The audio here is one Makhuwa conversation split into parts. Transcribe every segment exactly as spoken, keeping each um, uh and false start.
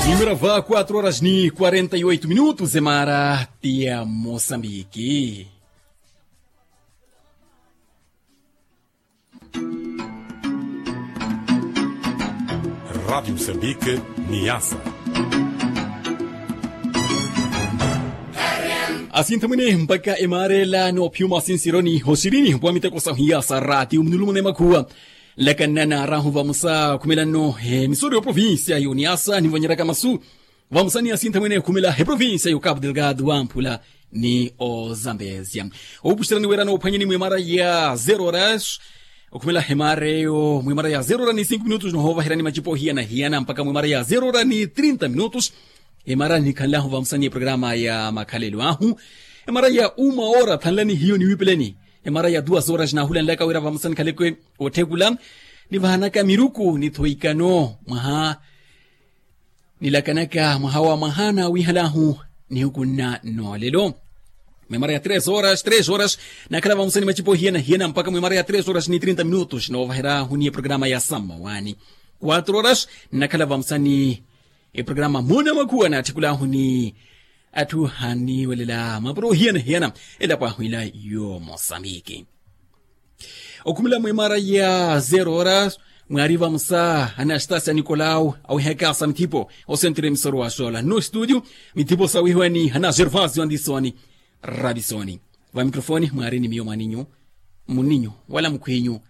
Mimira va quatro horas ni quarenta e oito minutos emara tia mosambiki. Radi mosambiki. Niasa. Asinthamwene mpaka emara ela noophiwa mwasinsiryoni hosirini mpwa miteko sahu hiyasa radi umunulumuna emakhuwa. Nlakannana arahu vamosa khumelanno emisori yoprovincia yoniasa nivonyeraka masu. Vamosa ni asinthamwene ekhumela eprovincia yokapu delgado wamphula ni ozambezia. Opuxerani wera noophwanyeni mwemara ya zero horas. Okhumela emara eyo mwemara ya zero horas ni cinco minutos nohovaherani macipo hiyana hiyana mpaka mwemara ya zero horas ni trinta minutos. Emara nikhanlahu vamosa ni eprograma ya makhalelo ahu. Emara ya uma ora thanlani hiyo niwipeleni. Emara ya duas horas nahulanlaka wira vamosa nikhaleke otthekula nivahanaka miruku nithoikano mwaha nilakanaka mwaha wa mwaha nawihalahu. Nihukunna nolelo mwemara ya tres horas tres horas nakhala vamosa ni macipo hiyana hiyana mpaka mwemara ya tres horas ni trinta minutos novaherahuni eprograma ya sammawani. Quatro horas nakhala vamosa ni eprograma muna makhuwa natthikulahu ni atthu haniwelela mapuro hiyana hiyana elapo ahu ila yo mosambiki. Okhumela mwemara ya zero horas mwari vamosa anastasia nicolau awihaka sa mithipo osentre emisoro wa sola no studio. Mithipo sawihiwani hana gervasio andisoni rabisoni. Vamikrofoni mwari ni miyo mwaninyu muninyu wala mukhwinyu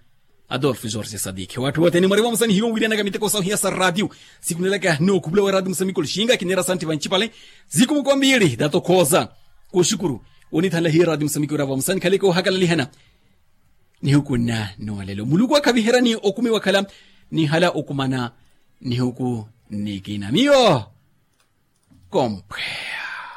adolfo jorge sadiki watthu wothene mwari vamosa ni hiyo wiiranaka miteko sahu hiyasa radio. Sikunelaka nookhupula wa radio mosambiki olixinga kinera santti vancipale. Zikumuko mbili datokhoza kuxukuru onithanla hiyo radio mosambiki wira vamosa nikhaleke ohakalelihana. Nihukunna nolelo muluku akhaviherani okumi wakhala nihala okumana nihuku nikina miyo. Komphwe.